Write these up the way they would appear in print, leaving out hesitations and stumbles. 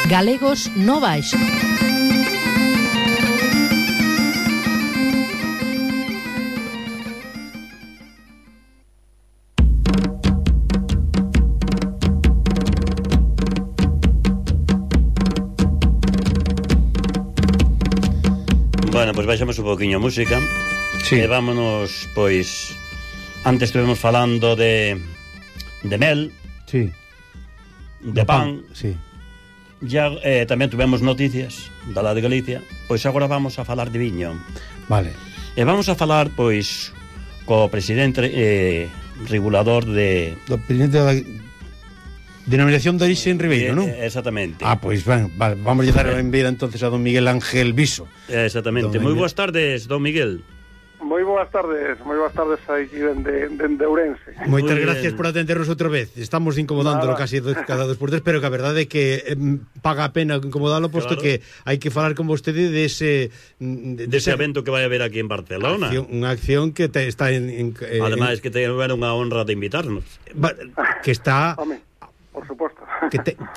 Galegos no Baixo. Bueno, pois baixamos un poquinho a música. Sí. E vámonos, pois, antes estuvemos falando de mel. Sí. De pan. Sí. Ya tamén tuvemos noticias da la de Galicia. Pois agora vamos a falar de viño. Vale. E vamos a falar, pois, co presidente regulador de... Do presidente da Denominación de Orixe en Ribeiro, non? Exactamente. Pois vale, vamos a dar a benvida entonces a don Miguel Ángel Viso. Exactamente. Moi boas tardes, don Miguel. Moi boas tardes aí dende Ourense. Moitas gracias por atendernos outra vez. Estamos incomodándolo casi cada 2 por 3, pero que a verdade é que paga a pena incomodalo, posto que hai que falar con vostede dese evento que vai haber aquí en Barcelona. Unha acción que está ademais que ten unha honra de invitarnos. Que está... Por suposto.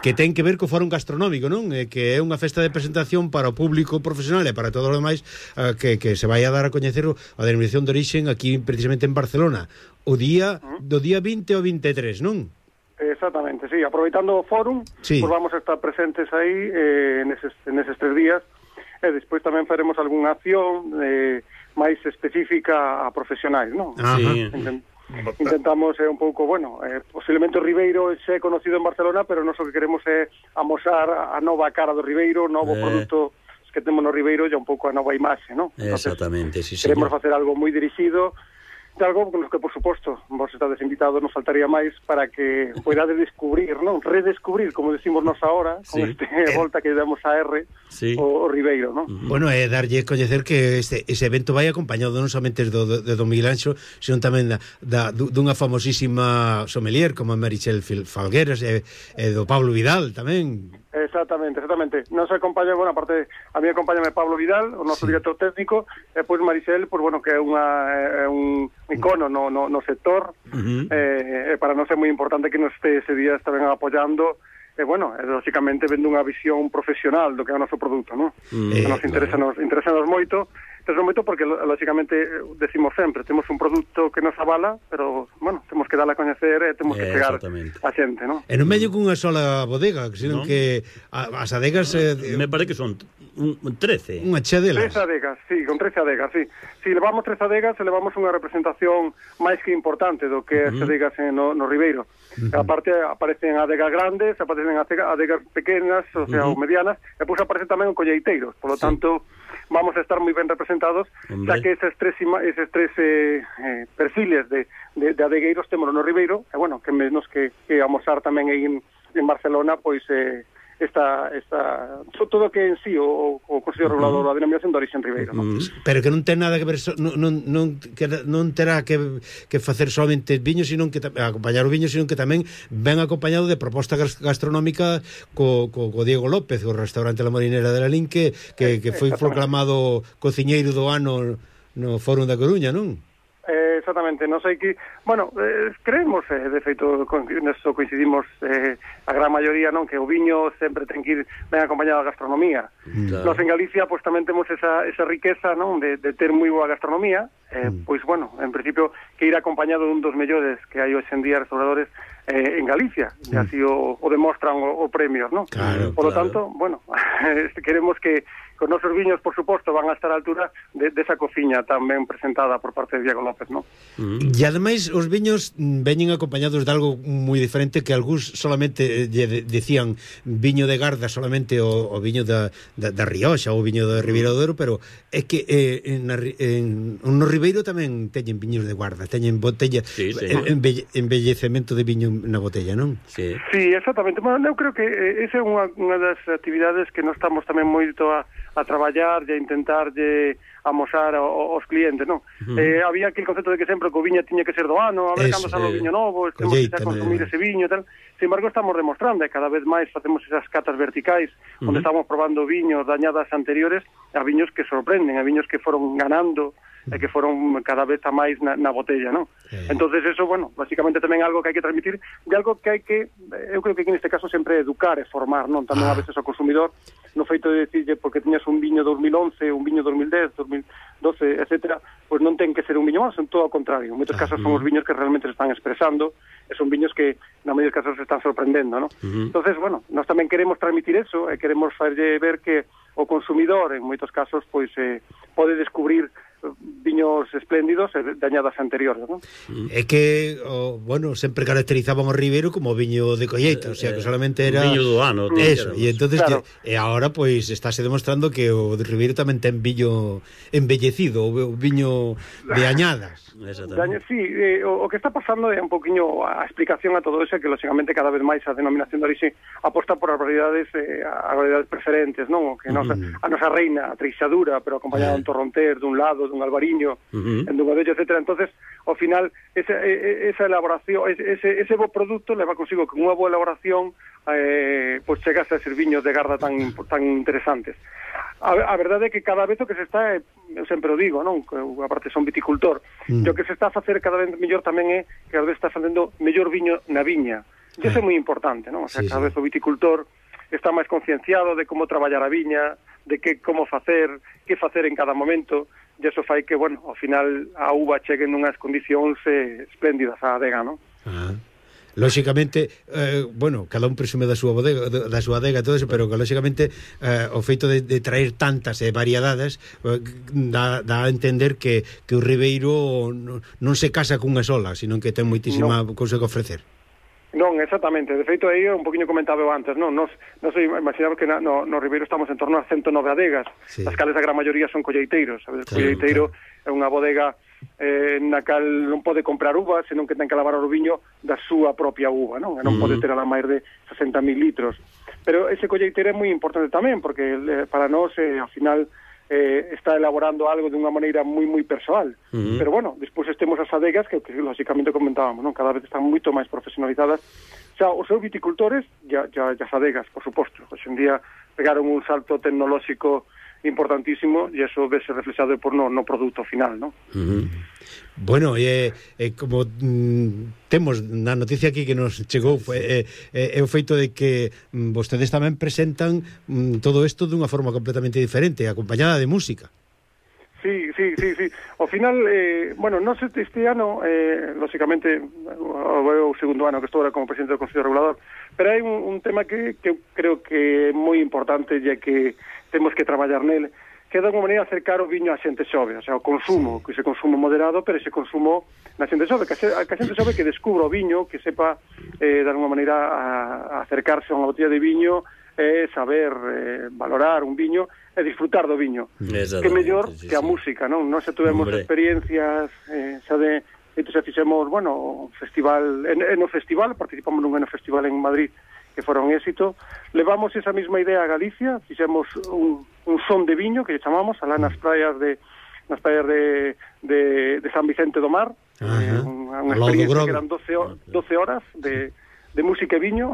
Que ten que ver co fórum gastronómico, non? Que é unha festa de presentación para o público profesional e para todos os demais que se vai a dar a coñecer a denominación de orixe aquí precisamente en Barcelona do día 20 ao 23, non? Exactamente, sí. Aproveitando o fórum, sí. Pues vamos a estar presentes aí neses 3 días e despois tamén faremos algunha acción máis específica a profesionais, non? Sí. Intentamos un pouco, posiblemente o Ribeiro é conocido en Barcelona, pero nós o que queremos é amosar a nova cara do Ribeiro, o novo produto que temos no Ribeiro e un pouco a nova imaxe, non? Exactamente, sí, queremos facer algo moi dirixido, de algo con que, por suposto, vos estades invitados, nos faltaría máis para que poidades descubrir, non? Redescubrir, como decimos nos ahora, con volta que damos a R, o Ribeiro, non? Bueno, darlle coñecer que ese evento vai acompañado non somente de don Miguel Anxo, sino tamén dunha famosísima sommelier como Marichel Falgueras e do Pablo Vidal tamén. Exactamente. Non se acompaña, aparte, a mí acompáñame Pablo Vidal, o noso director técnico, e pois Maricel, que é un icono no sector, e para nós é moi importante que nos ese día tamén apoiando, e lógicamente vendo unha visión profesional do que é o noso produto, non? Que nos interesa moito, porque lógicamente decimos sempre, temos un produto que nos avala, pero, temos que dar a coñecer e temos que chegar a xente, non? E non medio cunha sola bodega, senón que as adegas... Me parece que son 13. Unha chea delas. 13 adegas, sí, con 13 adegas, sí. Si levamos 13 adegas, levamos unha representación máis que importante do que as adegas no Ribeiro. Aparte, aparecen adegas grandes, aparecen adegas pequenas, o sea, ou medianas, e pois aparecen tamén o colleiteiros, por lo tanto... vamos a estar moi ben representados, xa que eses tres perfiles de adegueiros temos no Ribeiro, e que menos que amosar tamén aí en Barcelona, pois todo que en sí o Consello Regulador da Denominación de Orixe en Ribeiro, non? Pero que non ten nada que ver, non terá que facer somente viño, sino que acompañar o viño, sino que tamén ven acompañado de proposta gastronómica co Diego López, o restaurante La Morinera de Lalín, que foi proclamado cociñeiro do ano no Fórum da Coruña, non? Exactamente, non sei que... creemos, de feito, neso coincidimos a gran maioría, non? Que o viño sempre ten que ir ben acompañado da gastronomía. Nos en Galicia, pois tamén temos esa riqueza, non? De ter moi boa gastronomía, pois, en principio, que ir acompañado dun dos mellores que hai hoxe en día restauradores en Galicia, e así o demostran o premios, non? Por lo tanto, queremos que os nosos viños, por suposto, van a estar á altura desa cociña tamén presentada por parte de Diego López, non? E ademais os viños veñen acompañados de algo moi diferente, que algúns solamente decían viño de Garda, solamente o viño da Rioxa ou o viño da Ribeira do Douro, pero é que no Ribeiro tamén teñen viños de Guarda, teñen botella, embellecemento de viño na botella, non? Sí, exactamente. Eu creo que esa é unha das actividades que nós estamos tamén moito a traballar e a intentar amosar aos clientes, non? Había aquele concepto de que sempre o viño tiña que ser do ano, a ver cando sale o viño novo, temos que consumir ese viño e tal. Sin embargo, estamos demostrando, e cada vez máis facemos esas catas verticais, onde estamos probando viños dañadas anteriores a viños que sorprenden, a viños que foron ganando e que foron cada vez a máis na botella, non? Entonces eso, bueno, basicamente tamén algo que hai que transmitir, de algo que hai que, eu creo que neste caso sempre educar e formar, non? Tamén a veces ao consumidor, no feito de decirlle porque tiñas un viño 2011, un viño 2010, 2012, etcétera, pois non ten que ser un viño máis, son todo ao contrario. En moitos casos son os viños que realmente se están expresando, e son viños que na maioría dos casos se están sorprendendo, non? Entonces, bueno, nós tamén queremos transmitir eso, e queremos facerlle ver que o consumidor, en moitos casos, pois pode descubrir viños espléndidos de añadas anteriores, non? É que, bueno, sempre caracterizaban o Ribeiro como viño de colleita, o sea, que solamente era viño do ano, eso, e entonces claro. e agora pois estáse demostrando que o de Ribeiro tamén ten viño embellecido, o viño de añadas. Sí, o que está pasando é un poquinho a explicación a todo eso, que lógicamente cada vez máis a denominación de orixe aposta por as variedades preferentes, non? Que a nosa reina, a treixadura, pero acompañada dun torronter, dun lado, dun albariño, en dun adello, etcétera. Entonces, ao final, esa elaboración, ese bo produto leva consigo que unha boa elaboración pois chegas a ser viños de garda tan interesantes. A verdade é que cada vez o que se está, eu sempre o digo, non? Que aparte son viticultor, e o que se está a facer cada vez mellor tamén é que cada vez está facendo mellor viño na viña. E iso é moi importante, non? O sea, cada vez o viticultor está máis concienciado de como traballar a viña, de como facer, que facer en cada momento, e iso fai que, bueno, ao final a uva chegue nunhas condicións espléndidas á adega, non? Lóxicamente, bueno, cada un presume da súa bodega, da súa adega, todo eso, pero que lóxicamente o feito de traer tantas variedades dá a entender que o Ribeiro non se casa cunha sola, sino que ten moitísima cousa que ofrecer. Non, exactamente. De feito, aí un poquinho comentaba antes, non? Nos imaginamos que no Ribeiro estamos en torno a 109 adegas, as cales a gran maioría son colleiteiros, sabes? O colleiteiro é unha bodega na cal non pode comprar uva, senón que ten que lavar o viño da súa propia uva, non? E non pode ter a la máis de 60.000 litros. Pero ese colleiteiro é moi importante tamén, porque para nós, ao final, está elaborando algo de unha maneira moi persoal. Pero bueno, despois temos as adegas que lógicamente comentábamos, non? Cada vez están moito máis profesionalizadas. Xa, os seus viticultores e as adegas, por suposto. Hoxe en día pegaron un salto tecnolóxico importantísimo e eso vese reflexado por no produto final, non? Bueno, como temos na noticia aquí que nos chegou é o feito de que vostedes tamén presentan todo isto dunha forma completamente diferente, acompañada de música. Sí. Ao final, bueno, non sei este ano, lógicamente, o segundo ano que estou ahora como presidente do Consello Regulador, pero hai un tema que creo que é moi importante e que temos que traballar nele, que é de alguma maneira acercar o viño á xente xove, o sea, o consumo, que ese consumo moderado, pero ese consumo na xente xove, que a xente xove que descubra o viño, que sepa de alguma maneira acercarse a unha botella de viño, saber valorar un viño e disfrutar do viño. Que mellor que a música, non? Nós xa tuvemos experiencias xa de xa fixemos, bueno, festival, no festival, participamos nun festival en Madrid que foron éxito, levamos esa mesma idea a Galicia, fixemos un son de viño que chamamos alá nas praias de San Vicente do Mar, unha experiencia que eran 12 horas de música e viño.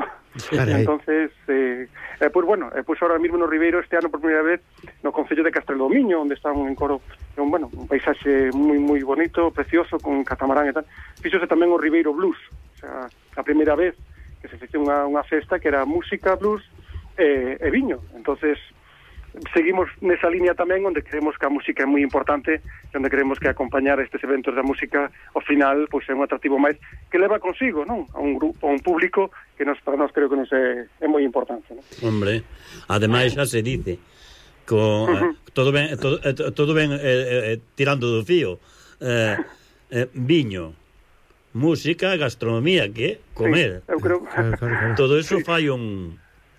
Entonces pues bueno, pues ahora mismo no Ribeiro este ano por primeira vez no concello de Castrelomiño, onde está un encoro, un paisaxe moi bonito, precioso, con catamarán e tal. Fíxose tamén o Ribeiro Blues, o sea, a primeira vez que se fixo unha festa que era música, blues e viño. Entonces seguimos nesa línea tamén, onde creemos que a música é moi importante, onde creemos que acompañar estes eventos da música ao final pois é un atractivo máis que leva consigo, non? A un grupo, a un público que para nós creo que nos é moi importante, non? Hombre, ademais xa se dice todo ben tirando do fío, viño, música, gastronomía, que comer. Sí, eu creo todo eso fai un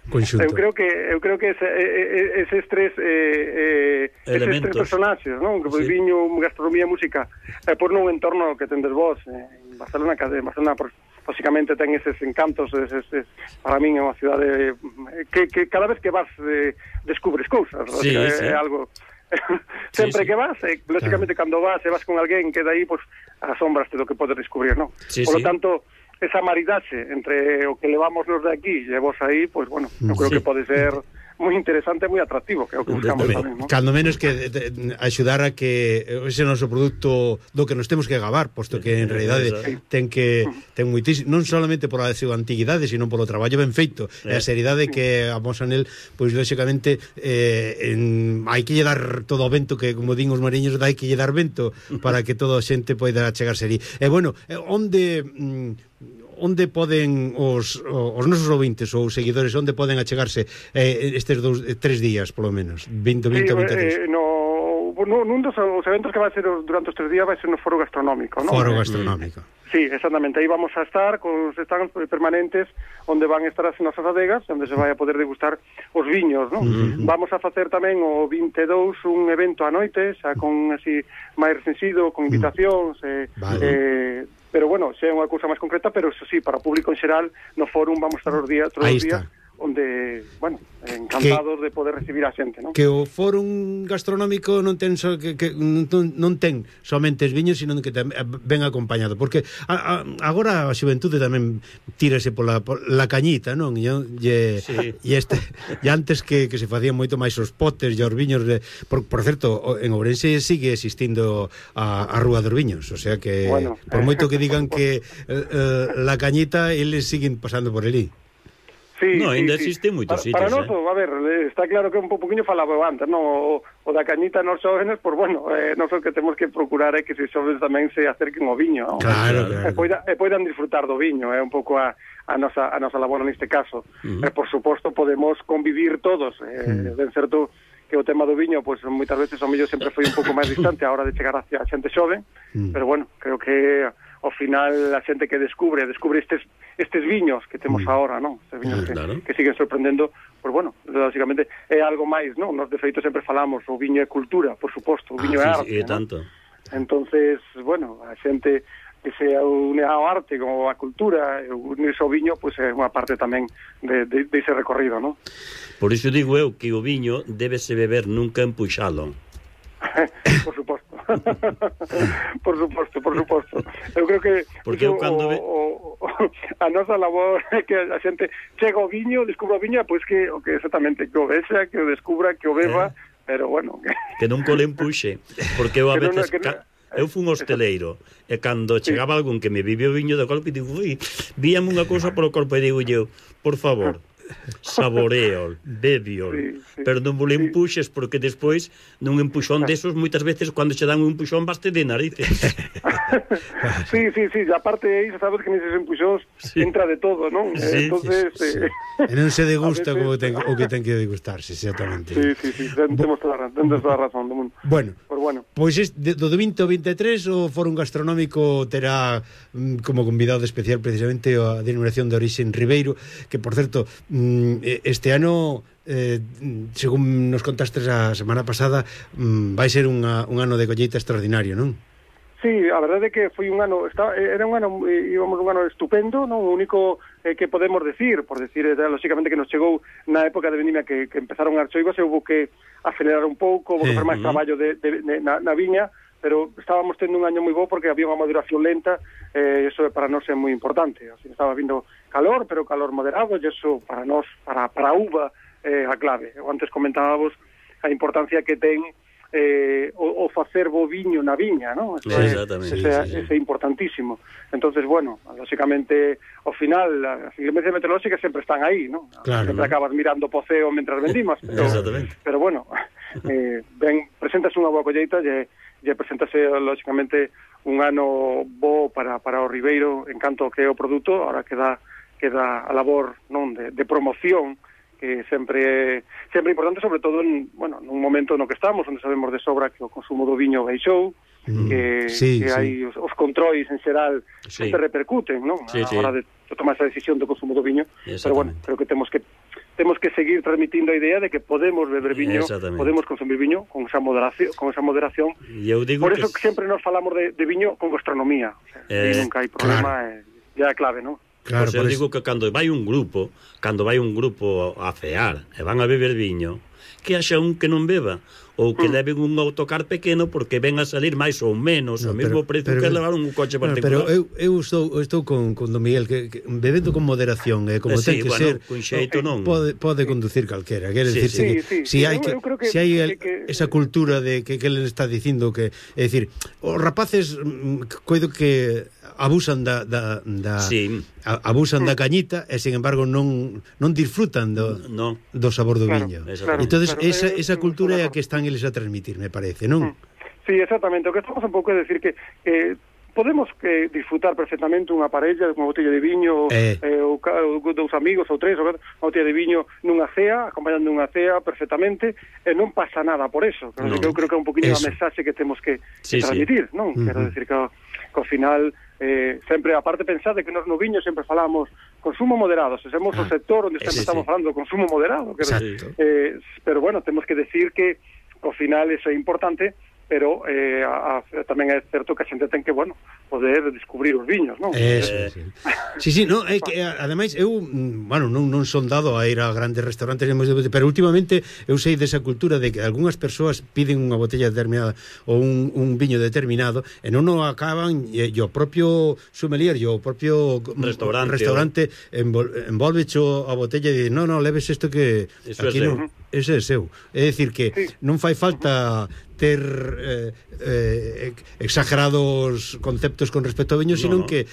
conxunto. Eu creo que eses tres personaxes, non? Que viño, gastronomía e música, por nun entorno que tendes vos, en Barcelona, básicamente ten eses encantos, para min é unha cidade que cada vez que vas descubres cousas, é algo sempre que vas, lógicamente cando vas e vas con alguén que dai, pois asombraste do que podes descubrir, non? Por lo tanto, esa maridaxe entre o que levamos nos de aquí e vos aí, pois bueno, eu creo que pode ser moi interesante e moi atractivo, que é o que buscamos tamén, non? Cando menos que axudar a que ese noso produto do que nos temos que gabar, posto que en realidade ten moitísimo, non solamente pola súa antiguidade, sino polo traballo ben feito, e a seriedade que amosan el, pois lógicamente hai que lle dar todo o vento, que como din os mariños, hai que lle dar vento para que toda a xente poida chegarse ali. E bueno, onde poden os nosos ouvintes ou seguidores, onde poden achegarse estes 3 días, polo menos, 20 ou 23? Nun dos eventos que vai ser durante os 3 días vai ser no Foro Gastronómico, non? Foro Gastronómico. Sí, exactamente, aí vamos a estar con os stands permanentes onde van estar as nosas adegas, onde se vai a poder degustar os viños, non? Vamos a facer tamén o 22 un evento a noite, xa con así máis recensido, con invitacións, pero bueno, xa é unha cousa máis concreta, pero eso sí, para o público en xeral, no fórum vamos a estar os días, todos os días, onde, bueno, encantados de poder recibir a xente, non? Que o fórum gastronómico non ten non ten somente os viños, sino que ven acompañado, porque agora a xuventude tamén tírase pola cañita, non? E antes que se facían moito máis os potes e os viños por certo, en Ourense sigue existindo a Rúa dos Viños, o sea que por moito que digan que la cañita, eles siguen pasando por ali. Sí, no, ainda existe moitos sitios. Para nós, a ver, está claro que un poquinho falaba antes, no? O da cañita nos xóvenes, pues bueno, non o que temos que procurar é que os xóvenes tamén se acerquen ao viño, ¿no? Claro. E poidan disfrutar do viño, é un pouco a nosa labor neste caso. Por suposto, podemos convivir todos, ben certo que o tema do viño, pois moitas veces o mellor sempre foi un pouco máis distante a hora de chegar hacia a xente xove, pero bueno, creo que ao final a xente que descubre estes viños que temos agora, non? Estes viños que siguen sorprendendo, pois bueno, lógicamente é algo máis, non? Nos de feito sempre falamos, o viño é cultura, por suposto, o viño é arte, sí, tanto. Entonces, bueno, a xente que se une ao arte como a cultura, unirse ao viño, pois é unha parte tamén de ese recorrido, non? Por iso digo eu que o viño débese beber nunca empuxalo. Por suposto. por suposto. Eu creo que porque eu cando a nosa labor é que a xente chega ao viño, descubra o viño, pois que exactamente que o vexa, que o descubra, que o beba, pero bueno, que non co le empuxe, porque eu a veces eu fui un hosteleiro e cando chegaba algún que me vive o viño de golpe, digo, víame unha cousa polo corpo e digo eu, por favor, saboreo, bebio, pero non vos empuxes, porque despois nun empuxón desos moitas veces cando che dan un empuxón baste de narices. Sí, aparte aí sabes que neses empuxóns entra de todo, non? Entonces e non se degusta o que ten que degustarse, exactamente. Sí, temos toda a razón do mundo. Bueno, pois do 20 ao 23 o Fórum Gastronómico terá como convidado especial precisamente a Denominación de Orixe en Ribeiro, que por certo este ano según nos contastes a semana pasada vai ser un ano de colleita extraordinario, non? Sí, a verdade é que foi un ano íbamos un ano estupendo, non? O único que podemos decir, lógicamente que nos chegou na época de vendimia que empezaron as choivas e houve que acelerar un pouco, houve que fazer máis traballo na viña, pero estábamos tendo un año moi bo porque había unha maduración lenta, eso para nós é moi importante. Así estaba vindo calor, pero calor moderado, e eso para nós, para a uva, a clave. Antes comentábamos a importancia que ten o facer bo viño na viña, ¿no? Ese é importantísimo. Entonces, bueno, lógicamente, ao final, as inclemencias meteorolóxicas sempre están aí, ¿no? Claro, sempre acabas mirando po ceo mentras vendimas, pero bueno, presentas unha boa colleita e presentase, lógicamente, un ano bo para o Ribeiro en canto que é o produto, ahora queda a labor, non, de promoción, que sempre é importante, sobre todo nun momento no que estamos, onde sabemos de sobra que o consumo do viño baixou, que hai os controis en xeral que se repercuten, non? A hora de tomar esa decisión do consumo do viño, pero bueno, creo que temos que seguir transmitindo a idea de que podemos beber viño, podemos consumir viño con esa moderación. Por eso que sempre nos falamos de viño con gastronomía, o sea, nunca hai problema, é a clave, non? Claro, pois eu digo que cando vai un grupo a cear e van a beber viño, que haxa un que non beba ou que leven un autocar pequeno porque ven a salir máis ou menos o mesmo precio que levar un coche particular. Pero eu estou con Don Miguel que bebendo con moderación, como ten que ser, con xeito non. Pode conducir calquera, quere dicir si hai esa cultura de que ele está dicindo que, é dicir, os rapaces coido que abusan abusan da cañita e sin embargo non disfrutan do sabor do viño. Entonces esa cultura é a que están eles a transmitir, me parece, non? Sí, exactamente. O que estamos un pouco é decir que podemos disfrutar perfectamente unha parella, unha botella de viño, ou dous amigos, ou tres, ou unha botella de viño nunha cea, acompañando unha cea perfectamente, e non pasa nada por eso. Eu creo que é un poquinho a mensaxe que temos que transmitir, non? Quero decir que ao final sempre, aparte, pensade que nos no viño sempre falamos consumo moderado, se somos o sector onde sempre estamos falando de consumo moderado, pero bueno, temos que decir que ao final eso é importante, pero tamén é certo que a xente ten que, bueno, poder descubrir os viños, non? Sí, no, é que ademais eu, bueno, non son dado a ir a grandes restaurantes, pero últimamente eu sei desa cultura de que algunhas persoas piden unha botella determinada ou un viño determinado e non o acaban, e o propio sommelier e o propio restaurante envolvecho a botella e di, no, leves isto que eso aquí non, ese é seu. É dicir que non fai falta ter exagerados conceptos con respecto ao viño, sino que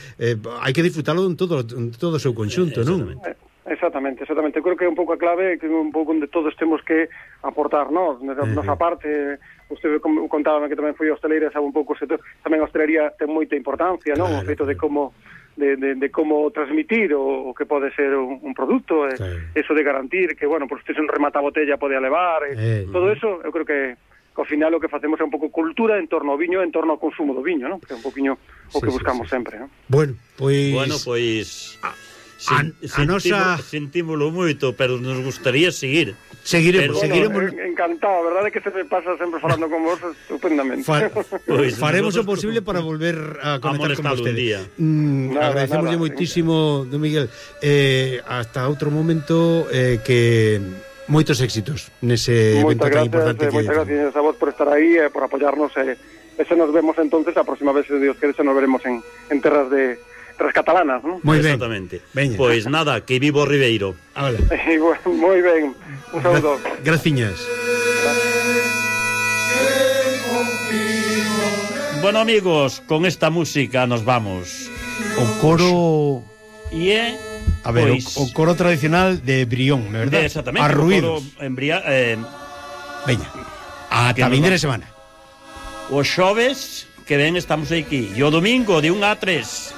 hai que disfrutalo en todo o seu conxunto, non? Exactamente. Creo que é un pouco a clave, que é un pouco onde todos temos que aportar, non? Nosa parte, usted contaba que tamén foi hosteleira, sabe un pouco, tamén a hostelería ten moita importancia, non? O feito de como transmitir o que pode ser un produto, eso de garantir que, bueno, pues usted se remata a botella pode levar, todo eso, eu creo que ao final o que facemos é un pouco cultura en torno ao viño, en torno ao consumo do viño, non? Que é un poquinho o que buscamos sempre, non? Bueno, pois sentímolo moito, pero nos gustaría seguir. Seguiremos. Encantado, verdade que se me pasa sempre falando con vos estupendamente. Faremos o posible para volver a conectar con vostede. Agradecemos moitísimo, Don Miguel. Hasta outro momento, que moitos éxitos nese evento tan importante. Moitas gracias a vos por estar aí e por apoyarnos, e se nos vemos entonces a próxima vez, se Dios quere, se nos veremos en terras catalanas, ¿no? Moi ben. Exactamente. Pois nada, que vivo Ribeiro. Moi ben. Un saúdo. Graciñas. Bueno, amigos, con esta música nos vamos. O coro a ver, o coro tradicional de Brión, ¿verdad? Exactamente. A ruidos. Veña, ata vindeira semana. Os xoves que ven estamos aquí. E o domingo de 1 a 3.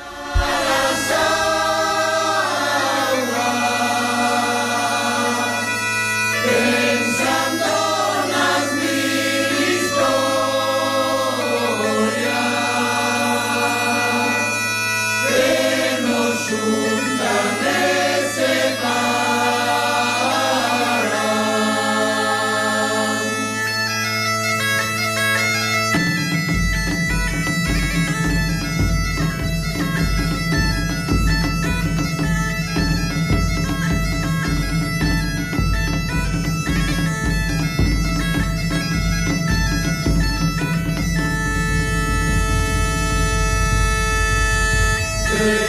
Yeah.